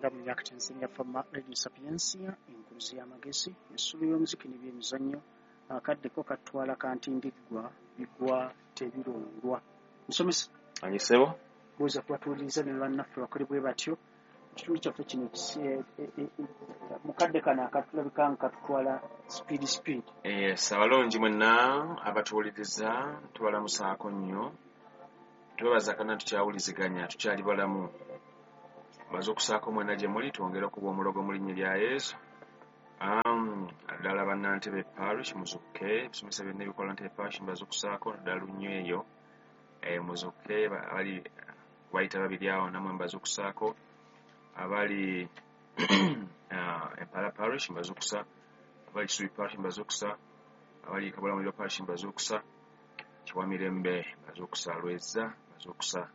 Kyenda mu myaka Tanzania Fama Radio Sapiensia, enkuluzi y'amagezi, essulo y'omuziki n'ebyemizannyo. Akaddeko katwala kantindiggwa bigwa tebirondwa. Musomesa. Anyisebo. Buuza kubatuwuliriza ne bannaffe bakole bwe batyo. Ekitundu kyaffe kino mukadde kano akatulabika nga katutwala speed speed. Yes, abalungi mwenna abatuwuliriza tubalamusaako nnyo. Twebaza kana tukyawuliziganya, tukyali balamu. Mbaze okusaako mwenna gye muli, twongere okuba omulogo mu linnya lya Yesu. Ddala bannantebe parish muzukke, ebisomesa byonna ebikola Ntebe parish mbaze okusaako, ddala lunnyo eyo. Muzukke, abali bayita babiri awo nammwe mbaze okusaako. Abali Empala parish mbaze okusa, abali Kisubi parish mbaze okusa, abali Kabulamuliro parish mbaze okusa, Kiwamirembe mbaze okusa, Lweza mbaze okusa,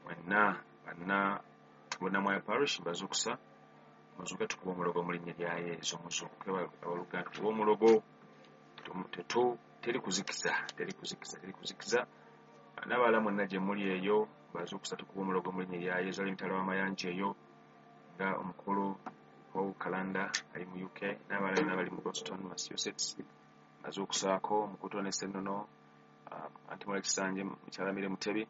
mwenna banna Bunnamwaya parish mbaze okusa. Muzuuke tukuba omulogo mu linnya lya Yesu. Muzuuke abooluganda tukuba omulogo. Teri kuzikiza, teri kuzikiza, teri kuzikiza. N'abalala mwenna gye muli eyo mbaze okusa, tukuba omulogo mu linnya lya Yesu. Ali mitala w'amayanja eyo nga omukulu Paul Kalanda ali mu UK, n'abalala bonna bali mu Boston, Massachusetts mbaze okusaako, Mukuto ne Ssennono, Anti Mola Kisanje, Mukyala Mire Mutebi,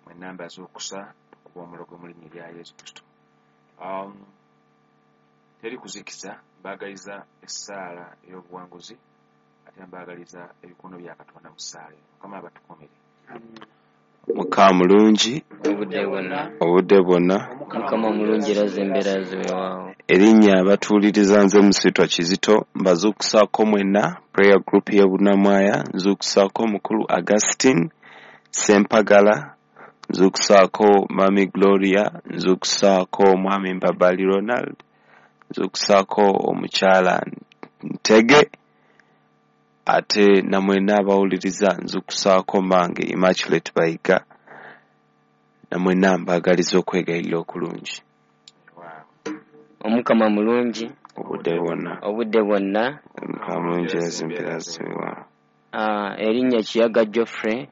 mwenna mbaze okusa, tukuba omulogo mu linnya lya Yesu Kristo. Teri kuzikiza, mbaagaliza essaala ey'obuwanguzi, ate mbaagaliza ebikono bya Katonda mu ssaala eno. Mukama abatukuumire. Mukama mulungi obudde bwonna, obudde bwonna. Mukama mulungi era zembeera ziwewaawo. Erinnya abatuwuliriza nze Musitwa Kizito, mbazuukusaako mwenna prayer group y'e Bunnamwaya, nzuukusaako mukulu Augustine Sempagala, nzuukusaako Mami Gloria, nzuukusaako Mwami Mbabali Ronald, nzuukusaako omukyala Ntege, ate namwenna abawuliriza nzuukusaako mange Immaculate Bayiga, namwenna mbaagaliza okwegayirira okulungi. Omukama mulungi obudde bwonna, obudde bwonna. Mukama mulungi era ziwewaawo. Erinnya Kiyaga Geoffrey,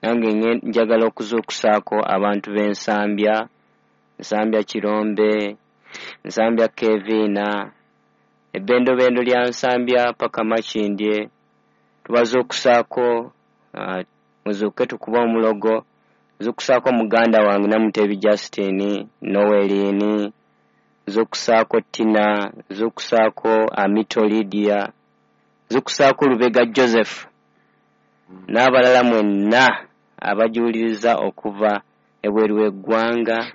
nange njagala okuzuukusaako abantu b'Ensambya, Nsambya Kirombe, Nsambya Keviina, ebbendobendo lya Nsambya paka Makindye. Tubazuukusaako, muzuuke tukuba omulogo. Nzuukusaako muganda wange Namutebi Justin, Noeline, nzuukusaako Tina, nzuukusaako Amito Lydia, nzuukusaako Lubega Joseph n'abalala mwenna abajuuliriza okuva ebweru w'eggwanga,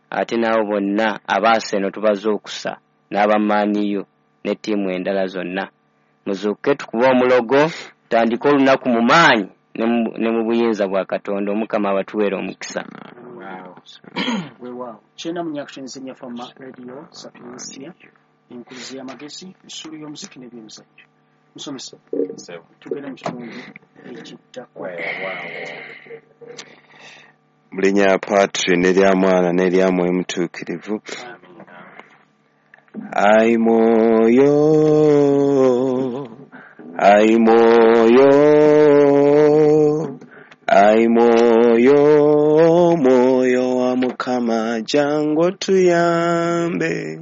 ate n'abo bonna abaaseno tubazuukusa n'abamaaniyo ne ttiimu endala zonna. Muzuuke tukuba omulogo, tutandike olunaku mu maanyi ne mu buyinza bwa Katonda. Omukama abatuweere omukisa. Weewaawo. Kyenda mu myaka Tanzania Fama Radio Sapiensia, enkuluzi y'amagezi, essulo y'omuziki n'ebyemizannyo. Musomesa, tugenda mu kitundu ekiddako. Mu linnya lya Patri n'erya Mwana n'erya Mwoyo Mutuukirivu. Ai mwoyo, ai mwoyo, ai mwoyo, mwoyo wa Mukama jangu otuyambe.